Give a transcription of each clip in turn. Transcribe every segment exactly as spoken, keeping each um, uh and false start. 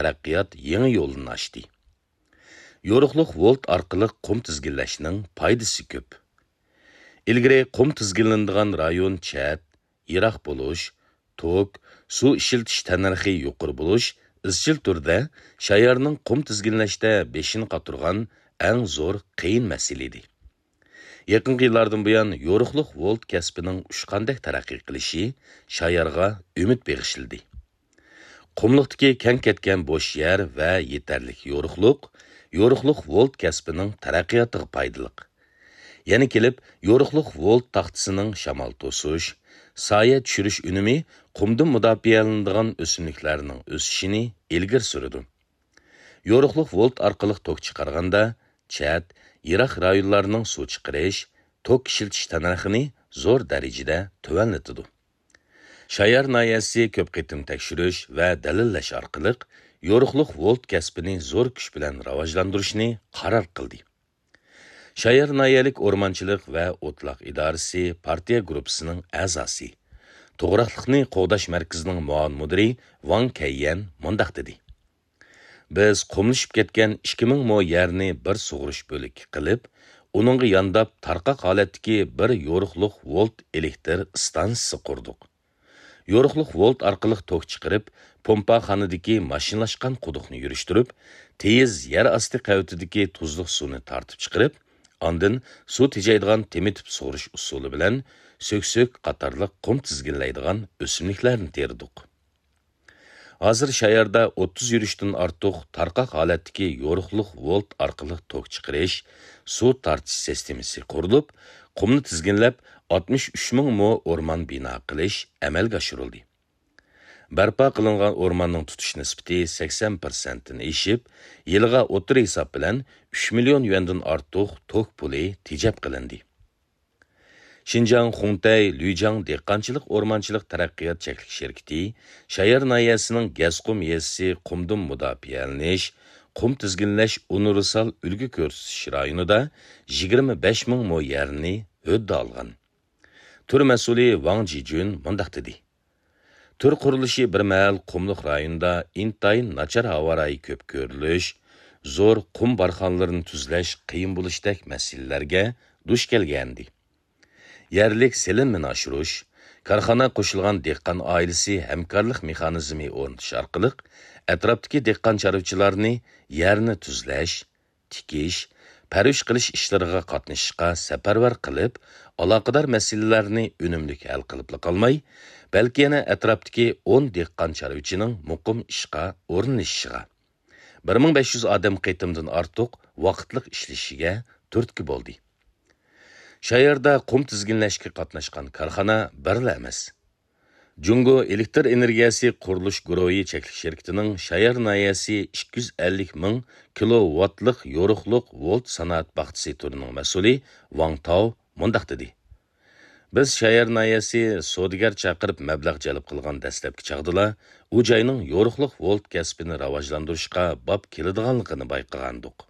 تەرەققىيات يېڭى يولىنى ئاچتى. يورۇقلۇق ۋولت ئارقىلىق قۇم تىزگىنلەشنىڭ پايدىسى كۆپ. ئىلگىرى قۇم تىزگىنلىنىدىغان رايون چەت، يىراق بولۇش، توك، سۇ ئىشلىتىش تەننەرخى يۇقىرى بولۇش ئىزچىل تۈردە شايارنىڭ قۇم تىزگىنلەشتە بېشىنى قاتۇرغان ئەڭ زور قىيىن مەسىلە ئىدى. يېقىنقى يىللاردىن بۇيان يورۇقلۇق ۋولت كەسپىنىڭ ئۇچقاندەك تەرەققىي قىلىشى شايارغا ئۈمىد بېغىشلىدى. قۇملۇقتىكى كەڭ كەتكەن بوش يەر ۋە يېتەرلىك يورۇقلۇق، يورۇقلۇق ۋولت كەسپىنىڭ تەرەققىياتىغا پايدىلىق. يەنە كېلىپ، يورۇقلۇق ۋولت تاختىسىنىڭ شامال توسۇش، سايە چۈشۈرۈش ئۈنۈمى قۇمدىن مۇداپىئەلىنىدىغان ئۆسۈملۈكلەرنىڭ ئۆسۈشىنى ئىلگىرى سۈرىدۇ. يورۇقلۇق ۋولت ئارقىلىق توك چىقارغاندا، چەت، يىراق رايونلارنىڭ سۇ چىقىرىش، توك ئىشلىتىش تەننەرخىنى زور دەرىجىدە تۆۋەنلىتىدۇ. شايار ناھىيەسى كۆپ قېتىم تەكشۈرۈش ۋە دەلىللەش ئارقىلىق يورۇقلۇق ۋولت كەسپىنى زور كۈچ بىلەن راۋاجلاندۇرۇشنى قارار قىلدى. شايار ناھىيەلىك ئورمانچىلىق ۋە ئوتلاق ئىدارىسى پارتىيە گۇرۇپپىسىنىڭ ئەزاسى، توغراقلىقنى قوغداش مەركىزىنىڭ مۇئاۋىن مۇدىرى ۋاڭ كەييەن مۇنداق دېدى: بىز قۇملىشىپ كەتكەن ئىككى مىڭ مو يەرنى بىر سۇغۇرۇش بۆلىكى قىلىپ، ئۇنىڭغا يانداپ تارقاق ھالەتتىكى بىر يورۇقلۇق ۋولت ئېلېكتر ئىستانسىسى قۇردۇق. يورۇقلۇق ۋولت ئارقىلىق توك چىقىرىپ، پومپاخانىدىكى ماشىنىلاشقان قۇدۇقنى يۈرۈشتۈرۈپ، تېيىز يەر ئاستى قەۋىتىدىكى تۇزلۇق سۇنى تارتىپ چىقىرىپ، ئاندىن سۇ تېجەيدىغان تېمىتىپ سۇغۇرۇش ئۇسۇلى بىلەن سۆكسۆك قاتارلىق قۇم تىزگىنلەيدىغان ئۆسۈملۈكلەرنى تېرىدۇق. ھازىر شاياردا ئوتتۇز يۈرۈشتىن ئارتۇق تارقاق ھالەتتىكى يورۇقلۇق ۋولت ئارقىلىق توك چىقىرىش، سۇ تارتىش سىستېمىسى قۇرۇلۇپ، قۇمنى تىزگىنلەپ، ئاتمىش ئۈچ مىڭ مو ئورمان بىنا قىلىش ئەمەلگە ئاشۇرۇلدى. بەرپا قىلىنغان ئورماننىڭ تۇتۇش نىسبىتى سەكسەن پىرسەنتتىن ئېشىپ، يىلىغا ئوتتۇرا ھېساب بىلەن ئۈچ مىليون يۈەندىن ئارتۇق توك پۇلى تېجەپ قىلىندى. شىنجاڭ خۇڭتەي لۈيجاڭ دېھقانچىلىق ئورمانچىلىق تەرەققىيات چەكلىك شىركىتى شايار ناھىيەسىنىڭ گەسقۇم يېزىسى قۇمدىن مۇداپىئەلىنىش، قۇم تىزگىنلەش ئۇنىۋېرسال ئۈلگە كۆرسىتىش رايونىدا يىگىرمە بەش مىڭ مو يەرنى ھۆددە ئالغان. تۈر مەسئۇلى ۋاڭ جىجۈن مۇنداق دېدى: تۈر قۇرۇلۇشى بىر مەھەل قۇملۇق رايوندا ئىنتايىن ناچار ھاۋا رايى كۆپ كۆرۈلۈش، زور قۇم بارخانلىرىنى تۈزلەش قىيىن بولۇشتەك مەسىلىلەرگە دۇچ كەلگەنىدى. يەرلىك سېلىنمىنى ئاشۇرۇش، كارخانا قوشۇلغان دېھقان ئائىلىسى ھەمكارلىق مېخانىزمى ئورنىتىش ئارقىلىق ئەتراپتىكى دېھقان چارۋىچىلارنى يەرنى تۈزلەش، تىكىش، پەرۋىش قىلىش ئىشلىرىغا قاتنىشىشقا سەپەرۋەر قىلىپ، ئالاقىدار مەسىلىلەرنى ئۈنۈملۈك ھەل قىلىپلا قالماي، بەلكى يەنە ئەتراپتىكى ئون دېھقان چارۋىچىنىڭ مۇقىم ئىشقا ئورۇنلىشىشىغا، بىر مىڭ بەش يۈز ئادەم قېتىمدىن ئارتۇق ۋاقىتلىق ئىشلىشىگە تۈرتكە بولدى. شاياردا قۇم تىزگىنلەشكە قاتناشقان كارخانا بىرلا ئەمەس. جۇڭگو ئېلېكتر ئېنېرگىيەسى قۇرۇلۇش گۇرۇھى چەكلىك شىركىتىنىڭ شايار ناھىيەسى ئىككى يۈز ئەللىك مىڭ كىلوۋاتلىق يورۇقلۇق ۋولت سانائەت باغچىسى تۈرىنىڭ مەسئۇلى ۋاڭ تاۋ مۇنداق دېدى: بىز شايار ناھىيەسى سودىگەر چاقىرىپ مەبلەغ جەلپ قىلغان دەسلەپكى چاغدىلا، ئۇ جاينىڭ يورۇقلۇق ۋولت كەسپىنى راۋاجلاندۇرۇشقا باب كېلىدىغانلىقىنى بايقىغانىدۇق.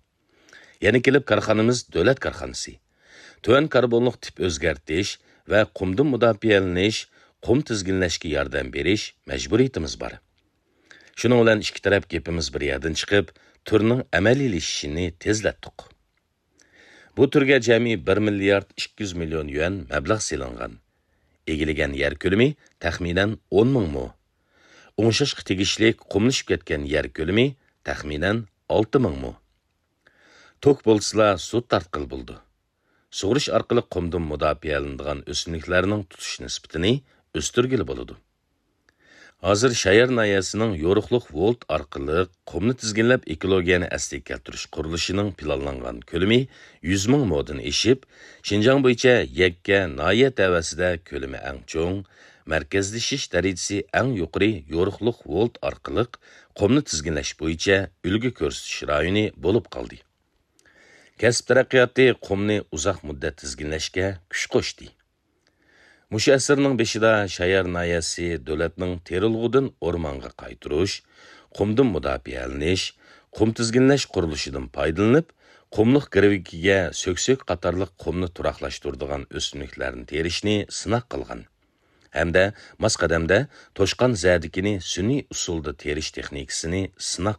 يەنە كېلىپ كارخانىمىز دۆلەت كارخانىسى. تۆۋەن كاربونلۇق تىپ ئۆزگەرتىش ۋە قۇمدىن مۇداپىئەلىنىش، قۇم تىزگىنلەشكە ياردەم بېرىش مەجبۇرىيىتىمىز بار. شۇنىڭ بىلەن ئىككى تەرەپ گېپىمىز بىر يەردىن چىقىپ، تۈرنىڭ ئەمەلىيلىشىشىنى تېزلەتتۇق. بۇ تۈرگە جەمئىي بىر مىليارد ئىككى يۈز مىليون يۈەن مەبلەغ سېلىنغان. ئىگىلىگەن يەر كۆلىمى تەخمىنەن ئون مىڭ مو. ئوڭشاشقا تېگىشلىك قۇملىشىپ كەتكەن يەر كۆلىمى تەخمىنەن ئالتە مىڭ مو. توك بولسىلا سۇ تارتقىلى بولىدۇ. سۇغۇرۇش ئارقىلىق قۇمدىن مۇداپىئەلىنىدىغان ئۆسۈملۈكلەرنىڭ تۇتۇش نىسبىتىنى ئۆستۈرگىلى بولىدۇ. ھازىر شايار ناھىيەسىنىڭ يورۇقلۇق ۋولت ئارقىلىق قۇمنى تىزگىنلەپ ئېكولوگىيەنى ئەسلىگە كەلتۈرۈش قۇرۇلۇشىنىڭ پىلانلانغان كۆلىمى يۈز مىڭ مودىن ئېشىپ، شىنجاڭ بويىچە يەككە ناھىيە تەۋەسىدە كۆلىمى ئەڭ چوڭ، مەركەزلىشىش دەرىجىسى ئەڭ يۇقىرى يورۇقلۇق ۋولت ئارقىلىق قۇمنى تىزگىنلەش بويىچە ئۈلگە كۆرسىتىش رايونى بولۇپ قالدى. كەسىپ تەرەققىياتى قۇمنى ئۇزاق مۇددەت تىزگىنلەشكە كۈچ قوشتى. مۇشۇ ئەسىرنىڭ بېشىدا شايار ناھىيەسى دۆلەتنىڭ تېرىلغۇدىن ئورمانغا قايتۇرۇش، قۇمدىن مۇداپىئەلىنىش، قۇم تىزگىنلەش قۇرۇلۇشىدىن پايدىلىنىپ، قۇملۇق گىرۋىكىگە سۆكسۆك قاتارلىق قۇمنى تۇراقلاشتۇرىدىغان ئۆسۈملۈكلەرنى تېرىشنى سىناق قىلغان. ھەمدە ماس قەدەمدە توشقان زەدىكىنى سۈنئىي ئۇسۇلدا تېرىش تېخنىكىسىنى سىناق